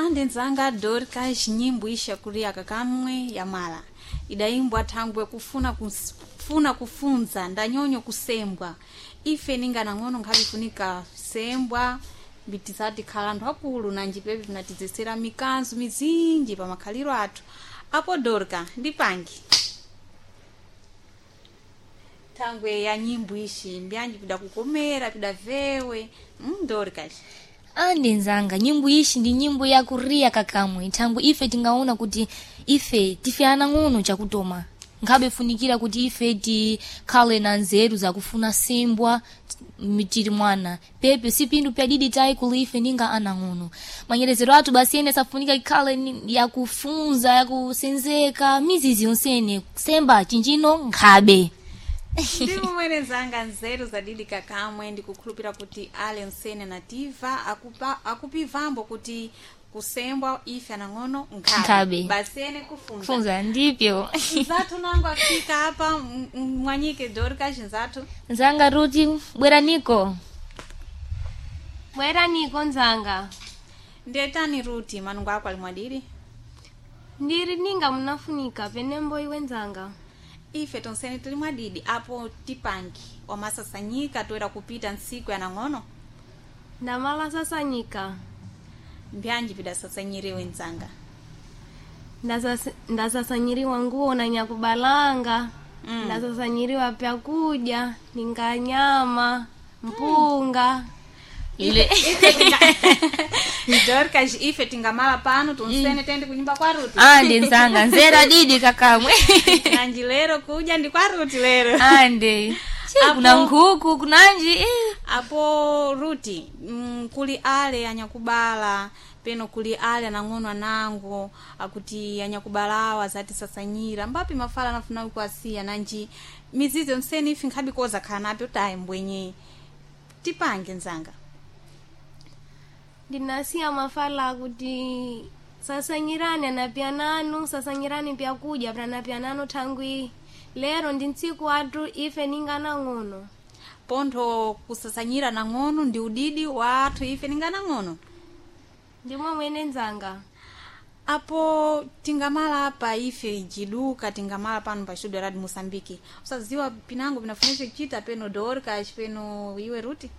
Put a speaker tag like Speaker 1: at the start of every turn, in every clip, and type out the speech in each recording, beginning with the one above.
Speaker 1: Ande nzanga Dorcas, nyimbo isha kulia kakamwe ya mala idaimbwa thangwe kufuna kufuna kufunza ndanyonyo kusembwa ife ninga nang'ono nkhabe ifunika sembwa mbitisati khala anthu akulu nanji pepe vinatizesera mikanzo mizinji pa makhaliro athu. Apo Dorca ndipangi thangwe ya nyimbo ishi mbyanji pidakukomera pidavewe Dorcas.
Speaker 2: Andi nzanga, nyimbo ishi ndi nyimbo yakuriya kakamwe. Thangwe ife tingaona kuti ife tife anang'ono chakutoma, nkhabe funikira kuti ife tikhale na nzeru zakufuna simbwa tili mwana pepe si pinthu pyadidi tayi kuli ife ninga anang'ono. Manyerezero athu basi ene safunika ikhale yakufunza, yakusenzeka mizizi yonsene kusemba chinjino nkhabe.
Speaker 1: Ndimumwene zanga nzeru zadidi kakamwe, ndikukhulupira kuti ale nsene nativa akupivambo kuti kusembwa ife anang'ono nkhabe
Speaker 2: Nkhabe.
Speaker 1: Basi ene kufunza.
Speaker 2: Kufunza ndipyo.
Speaker 1: Nzathu nango afika apa mwanyike Dorcas nzathu.
Speaker 2: Nzanga Ruti, bweraniko.
Speaker 3: Bwera niko nzanga.
Speaker 1: Ndetani Ruti, manungo ako ali mwadiri?
Speaker 3: Ndiri ninga munafunika penembo iwe nzanga.
Speaker 1: Ife tonsene tili mwadidi. Apo tipangi wamasasanyika toera kupita ntsiku ya nang'ono.
Speaker 3: Ndamala sasanyika.
Speaker 1: Mbyanji pidasasanyiriwe nzanga?
Speaker 3: Ndasasanyiriwa nguo na nyakubalanga. Ndasasanyiriwa pyakudya ninga nyama mpunga.
Speaker 2: Ile.
Speaker 1: Dorcas, ife tingamala pano tonsene tende kunyumba kwa Ruti.
Speaker 2: Ande nzanga, nzera didi kakamwe.
Speaker 1: Nanji lero kuja ndi kwa Ruti lero.
Speaker 2: Ande Che, kuna nkhuku kunanji eh.
Speaker 1: Apo Ruti, kuli ale anyakubala peno kuli ale anang'ono anango akuti anyakubalawa azatisasanyira mbapi mafala anafuna kuasiya nanji mizizi yonsene ife nkhabe koza khala napyo tayi mbwenye tipange nzanga.
Speaker 3: Ndinasiya mafala kuti sasanyirani anapyananu, sasanyirani pyakudya pyanapyananu thangwi lero ndi ntsiku athu ife ninga nang'ono.
Speaker 1: Pontho kusasanyira nang'ono ndi udidi wa athu ife ninga nang'ono.
Speaker 3: Ndimwe mwene nzanga.
Speaker 1: Apo tingamala apa ife jiduka tingamala pano pa studio Radio Moçambique, usaziwa pinango pinafunisa kuchita peno Dorcas peno iwe Ruti.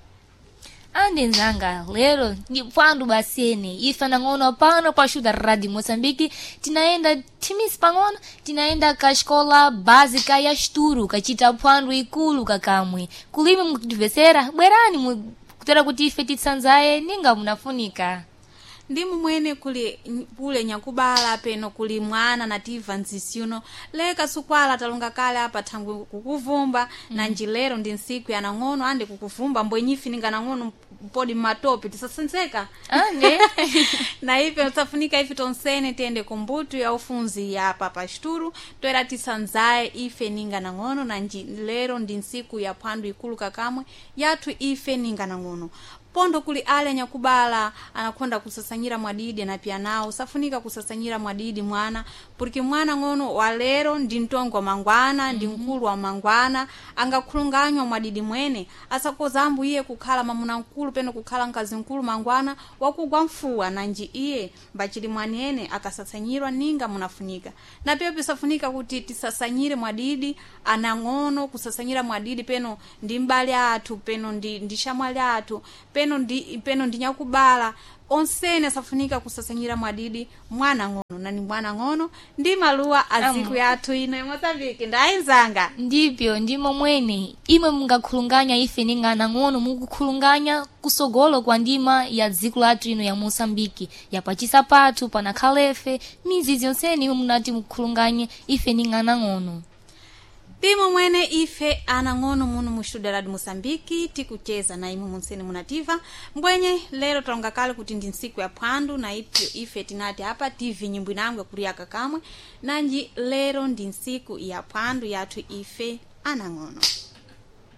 Speaker 2: Ande nzanga, lero ndi pwandu basene ife anang'ono pano pa xuda Radio Moçambique tinaenda thimisi pang'ono, tinaenda ka xikola básica ya Xituro kachita phwando ikulu kakamwe. Kulime mukutimvesera, bwerani kutera kuti ife titsanzaye ninga munafunika.
Speaker 1: Ndi mumwene kuli kule nyakubala peno kuli mwana nativa nzisi uno leka sukwala talonga kale apa thangwe kukuvumba. Nanji lero ndi ntsiku ya nang'ono ande kukuvumba mbwenyifi ninga nang'ono podi mmatope tisasenzeka.
Speaker 2: Ande.
Speaker 1: Na ife tisafunika ife tonsene tiyende kumbutu ya ufunzi ya apa pa Xituro toera tisanzaye ife ninga nang'ono. Nanji lero ndi ntsiku ya phwando ikulu kakamwe yathu ife ninga nang'ono. Pondo kuli ale anyakubala anakonda kusasanyira mwadidi anapya nawo safunika kusasanyira mwadidi mwana porque mwana ng'ono wa lero ndi mtongo wa mangwana ndi mkulu wa mangwana angakhulunganywa mwadidi mwene asakoza ambu iye kukhala mamuna mkulu peno kukhala mkazi mkulu mangwana wakugwa mfuwa nanji iye mbachili mwanene akasasanyirwa ninga munafunika. Na pia pisafunika kuti tisasanyire mwadidi anang'ono kusasanyira mwadidi peno ndi mbale athu peno ndi shamwali athu peno ndi nyakubala onsene asafunika kusasanyira mwadidi mwana ng'ono nani mwana ng'ono ndi maluwa aziku yathu ino ya Moçambique ndayinzanga.
Speaker 2: Ndipyo ndimo mwene imwe mungakhulunganya ife ninga anang'ono mukukhulunganya kusogolo kwa ndima ya dziko lathu ino ya Moçambique yapachisa pathu panakhalefe mizizi yonsene imwe munati mukhulunganye ife ninga anang'ono.
Speaker 1: Ndimo mwene ife anang'ono muno mu studio Radio Moçambique tikucheza na imwe munsene munativa mbwenye lero talonga kale kuti ndi ntsiku ya phwando na ipyo ife tinati apa tv nyimbo inango yakuliyaka kamwe nanji lero ndi ntsiku ya phwando yathu ife anang'ono.